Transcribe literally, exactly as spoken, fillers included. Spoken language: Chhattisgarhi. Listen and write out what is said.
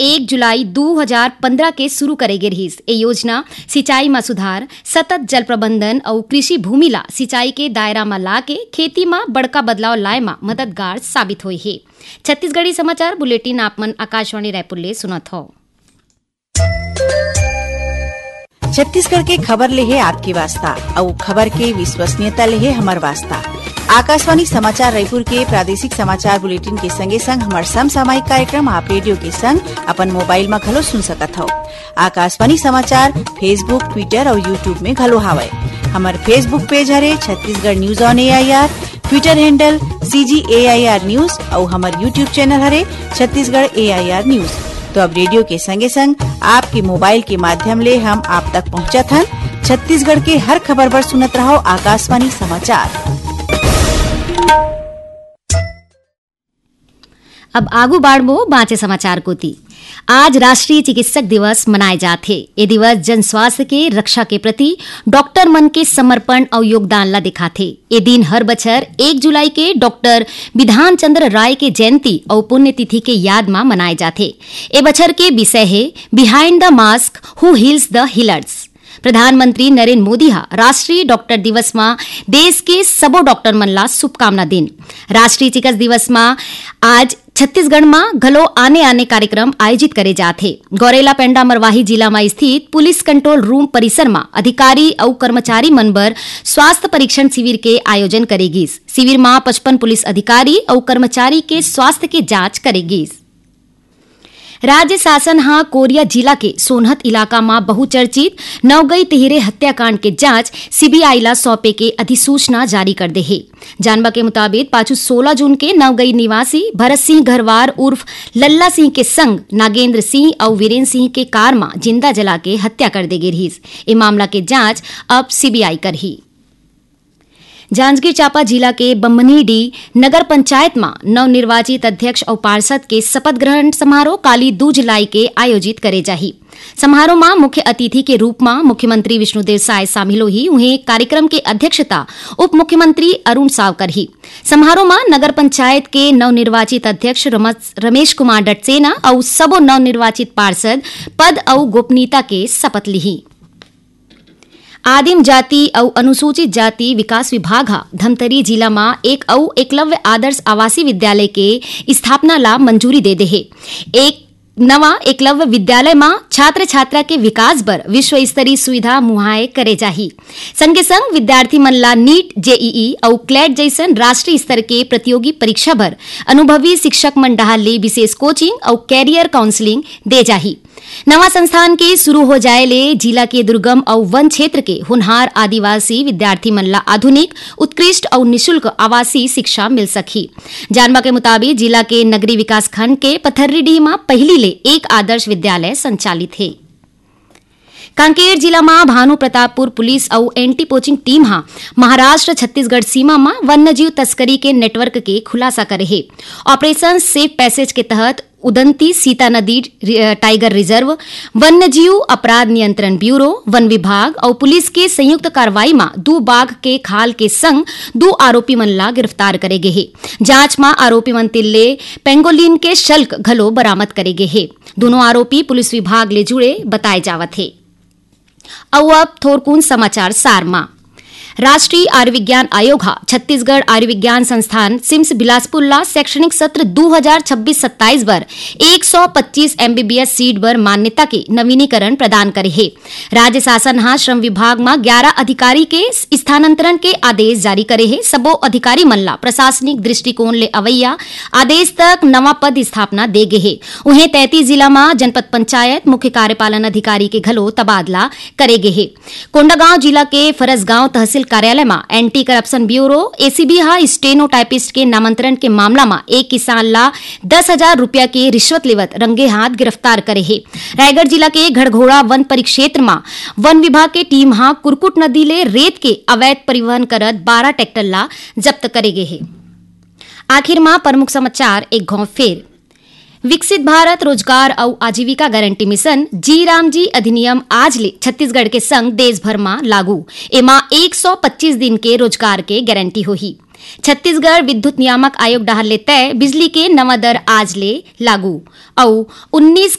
एक जुलाई दू हजार पंद्रह के शुरू करे गे रिहिस। ए योजना सिंचाई म सुधार, सतत जल प्रबंधन अउ कृषि भूमि ला सिंचाई के दायरा म लाके खेती म बड़का बदलाव लाए म मददगार साबित होए हे। छत्तीसगढ़ी समाचार बुलेटिन आप मन आकाशवाणी रायपुर ले सुनत हव। छत्तीसगढ़ के खबर ले हे आपके वास्ता, अउ खबर के विश्वसनीयता ले हे हमर वास्ता। आकाशवाणी समाचार रायपुर के प्रादेशिक समाचार बुलेटिन के संगे संग हमर समसामयिक कार्यक्रम आप रेडियो के संग अपन मोबाइल म घलो सुन सकत हव। आकाशवाणी समाचार Facebook, Twitter अउ YouTube में घलो हावय। हमर Facebook पेज हरे Chhattisgarh news on AIR, Twitter handle CG AIR news अउ हमर YouTube चैनल हरे छत्तीसगढ़ एआईआर न्यूज। तो अब रेडियो के संगे संग आपके मोबाइल के माध्यम ले हम आप तक पहुंचत हन छत्तीसगढ़ के हर खबर बर। सुनत रहो आकाशवाणी समाचार। अब आगू बाढ़बो बांचे समाचार कोती। आज राष्ट्रीय चिकित्सक दिवस मनाए जात हे। ए दिवस जन स्वास्थ्य के रक्षा के प्रति डॉक्टर मन के समर्पण अउ योगदान ला दिखाथे। ए दिन हर बछर एक जुलाई के डॉक्टर बिधान चंद्र राय के जयंती अउ पुण्यतिथि के याद मा मनाए जाथे। ए बछर के विषय हे Behind the Mask, Who Heals the Healers। प्रधानमंत्री नरेंद्र मोदी ह राष्ट्रीय डॉक्टर दिवस मा देश के सबो डॉक्टर मन ला शुभकामना दिन। राष्ट्रीय चिकित्सा दिवस मा आज छत्तीसगढ़ मा घलो आने-आने कार्यक्रम आयोजित करे जात हे। गौरेला पेंडा मरवाही जिला मा स्थित पुलिस कंट्रोल रूम परिसर मा अधिकारी अउ कर्मचारी मन बर स्वास्थ्य परीक्षण शिविर के आयोजन करे गिस। शिविर मा पचपन पुलिस अधिकारी अउ कर्मचारी के स्वास्थ्य के जांच करे गिस। राज्य शासन ह कोरिया जिला के सोनहत इलाका म बहुचर्चित नवगई तिहिरे हत्याकांड के जांच सीबीआई ला सौंपे के अधिसूचना जारी कर दे हे। जानबा के मुताबिक, पाछू सोलह जून के नवगई निवासी भरत सिंह घरवार उर्फ लल्ला सिंह के संग नागेंद्र सिंह अउ वीरेंद्र सिंह के कार म जिंदा जला के हत्या कर दे गे रिहिस। ए मामला के जांच अब सीबीआई करही। जांजगीर चांपा जिला के बम्हनीडीह नगर पंचायत म नवनिर्वाचित अध्यक्ष अउ पार्षद के शपथ ग्रहण समारोह काली दू जुलाई के आयोजित करे जाही। समारोह म मुख्य अतिथि के रूप म मुख्यमंत्री विष्णुदेव साय शामिल होही। उहें, कार्यक्रम के अध्यक्षता उप मुख्यमंत्री अरुण साव करही। समारोह म नगर पंचायत के नवनिर्वाचित अध्यक्ष रमस-, रमेश कुमार डटसेना अउ सबो नवनिर्वाचित पार्षद पद अउ गोपनीयता के शपथ लिही। आदिम जाति अउ अनुसूचित जाति विकास विभाग ह धमतरी जिला म एक अउ एकलव्य आदर्श आवासीय विद्यालय के स्थापना ला मंजूरी दे दे हे। एक नवा एकलव्य विद्यालय म छात्र छात्रा के विकास बर विश्व स्तरीय सुविधा मुहैया करे जाही। संगे संग विद्यार्थी मन ला नीट, जेईई अउ क्लैट जइसन राष्ट्रीय स्तर के प्रतियोगी परीक्षा बर अनुभवी शिक्षक मन डहार ले विशेष कोचिंग अउ कैरियर काउंसलिंग दे जाही। नवा संस्थान के शुरू हो जाए ले जिला के दुर्गम अउ वन क्षेत्र के होनहार आदिवासी विद्यार्थी मन ला आधुनिक, उत्कृष्ट अउ निशुल्क आवासीय शिक्षा मिल सकही। जानबा के मुताबिक, जिला के नगरी विकास खंड के पथर्रीडीह म पहिली ले एक आदर्श विद्यालय संचालित हे। कांकेर जिला म भानु प्रतापपुर पुलिस अउ एंटी पोचिंग टीम ह महाराष्ट्र छत्तीसगढ़ सीमा म वन्यजीव तस्करी के नेटवर्क के खुलासा करे हे। ऑपरेशन सेफ पैसेज के तहत उदंती सीता नदी रि-, टाइगर रिजर्व, वन्यजीव अपराध नियंत्रण ब्यूरो, वन विभाग अउ पुलिस के संयुक्त कार्रवाई म दू बाघ के खाल के संग दू आरोपी मन ला गिरफ्तार करे गे हे। जांच म आरोपी मन तीर ले पेंगोलिन के शल्क घलो बरामद करे गे हे। दोनों आरोपी पुलिस विभाग ले जुड़े बताए जावत हे। अउ अब थोरकुन समाचार सार म। राष्ट्रीय आयुर्विज्ञान आयोग ह छत्तीसगढ़ आयुर्विज्ञान संस्थान सिम्स बिलासपुर ला शैक्षणिक सत्र दू हजार छब्बीस सत्ताईस बर एक सौ पच्चीस एमबीबीएस सीट बर मान्यता के नवीनीकरण प्रदान करे हे। राज्य शासन ह श्रम विभाग म ग्यारह अधिकारी के स्थानांतरण के आदेश जारी करे हे। सबो अधिकारी मन ला प्रशासनिक दृष्टिकोण ले अवैया आदेश तक नवा पद स्थापना दे गे हे। उहें, तैंतीस जिला म जनपद पंचायत मुख्य कार्यपालन अधिकारी के घलो तबादला करे गे हे। कोंडागांव जिला के फरसगांव तहसील कार्यालय म एंटी करप्शन ब्यूरो, एसीबी, ह स्टेनोटाइपिस्ट के नामांतरण के मामला म एक किसान ला दस हजार रुपया के रिश्वत लेवत रंगे हाथ गिरफ्तार करे हे। रायगढ़ जिला के घड़घोड़ा वन परिक्षेत्र म वन विभाग के टीम ह कुरकुट नदी ले रेत के अवैध परिवहन करत बारह ट्रैक्टर ला जब्त करे गे हे। आखिर म प्रमुख समाचार एक घौं फेर। विकसित भारत रोजगार अउ आजीविका गारंटी मिशन, जी राम जी अधिनियम आज ले छत्तीसगढ़ के संग देश भर म लागू। एमा एक सौ पच्चीस दिन के रोजगार के गारंटी होही। छत्तीसगढ़ विद्युत नियामक आयोग डहार ले तय बिजली के नवा दर आज ले लागू। अउ उन्नीस